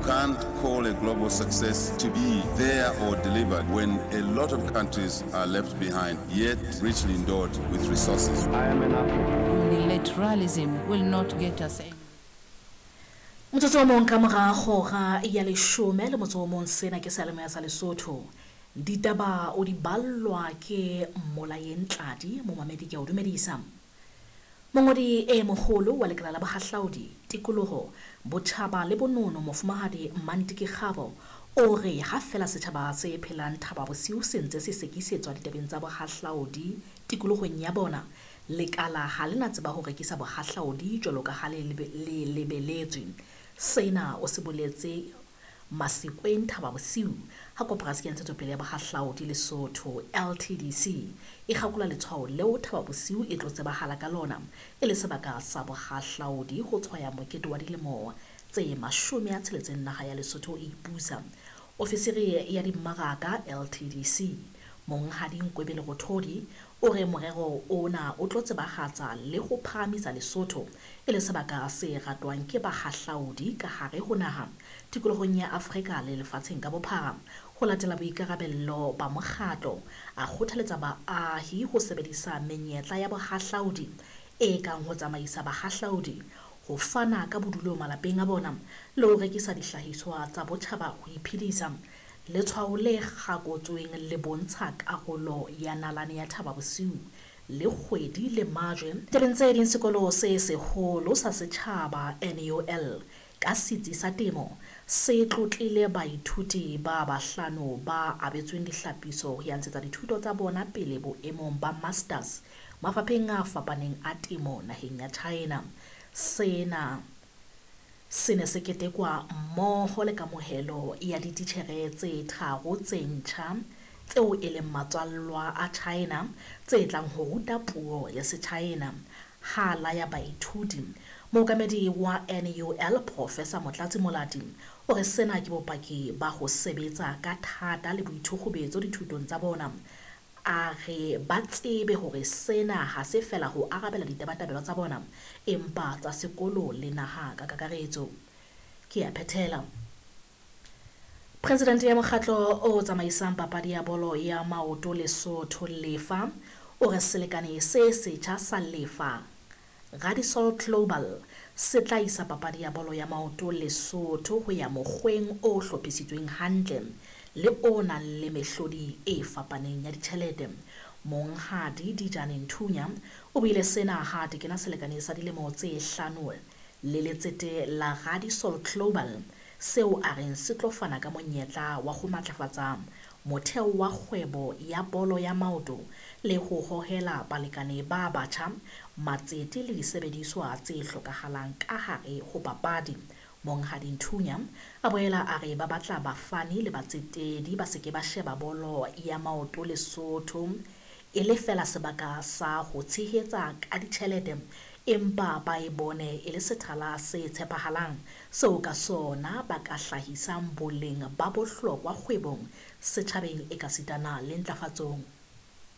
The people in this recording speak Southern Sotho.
Can't call a global success to be there or delivered when a lot of countries are left behind, yet richly endowed with resources. I am an African. Unilateralism will not get us anywhere. Motsotso o mong ka mora hora ya leshome le motso o mong, sena ke seyalemoya sa Lesotho. Ditaba o di ballwa ke Mmolayeng Tladi, momamedi ke a o dumedisa. Mongodi e moholo wa lekala la bohahlaudi, tikoloho, botjhaba le bonono Mofumahadi Mmantiki Kgabo o re ha feela setjhaba se phelang Thaba Bosiu se ntse se sekisetswa ditabeng tsa bohahlaudi tikolohong ya bona, lekala ha le na tseba ho rekisa bohahlaudi jwalo ka ha le lebeletswe. Sena o se boletse Masekweng Thaba Bosiu ha Koporasi ya Ntshetsopele ya Bohahlaudi Lesotho, LTDC, e kgakola letshwao leo Thaba Bosiu e tlo tsebahala ka lona e le sebaka sa bohahlaudi ho tshwaya mokete wa dilemo tse 60 naha ya Lesotho e ipusa. Ofisiri ya dimmaraka LTDC, Monghadi Nkwebe Lerothodi, o re morero ona o tlo tsebahatsa le ho phahamisa Lesotho e le sebaka se ratwang ke bahahlaudi ka hare ho naha, tikolohong ya Afrika le lefatsheng ka bophara. Ho latela boikarabello ba mokgatlo, a kgothaletsa baahi ho sebedisa menyetla ya bohahlaudi e kang ho tsamaisa bahahlaudi, ho fana ka bodulo malapeng a bona le ho rekisa dihlahiswa tsa botjhaba ho iphedisa. Letshwao le kgakotsweng le bontsha karolo ya nalane ya Thaba Bosiu le kgwedi le majwe. Tabeng tse ding, sekolo se seholo sa setjhaba NUL ka setsi sa temo se tlotlile baithuti ba bahlano ba abetsweng dihlapiso ho ya ntshetsa dithuto tsa bona pele boemong ba masters mafapheng a fapaneng a temo naheng ya China. Sena se ne se ketekwa mmoho le kamohelo ya dititjhere tse tharo tse ntjha tseo e leng matswallwa a China tse tlang ho ruta puo ya Sechina. Ha laya baithuti, mookamedi wa NUL Professor Motlatsi Molati o re sena ke bopaki ba ho sebetsa ka thata le boithukgubetso dithutong tsa bona. A re ba tsebe hore sena ha se feela ho arabela ditabatabelo tsa bona empa tsa sekolo le naha ka kakaretso. Ke a phethela. Presidente ya mokgatlo o tsamaisang papadi ya bolo ya maoto Lesotho Lefa o re selekane se setjha sa Lefa Radisol Global se tla isa papadi ya bolo ya maoto Lesotho ho ya mokgweng o hlophisitsweng hantle le o nang le mehlodi e fapaneng ya ditjhelete. Monghadi Dijane Nthunya o buile sena ha tekena selekane sa dilemo tse hlano le letsete la Radisol Global seo a reng se tlo fana ka monyetla wa ho matlafatsa motheo wa kgwebo ya bolo ya maoto le ho hohela balekane ba batjha, matsete le disebediswa tse hlokahalang ka hare ho papadi. Monghadi Nthunya a boela a re ba batla bafani le batsetedi ba se ke ba sheba bolo ya maoto Lesotho e le feela sebaka sa ho tshehetsa ka ditjhelete, empa ba e bone e le sethala se tshepahalang seo ka sona ba ka hlahisang boleng ba bohlokwa kgwebong, setjhabeng ekasitana le ntlafatsong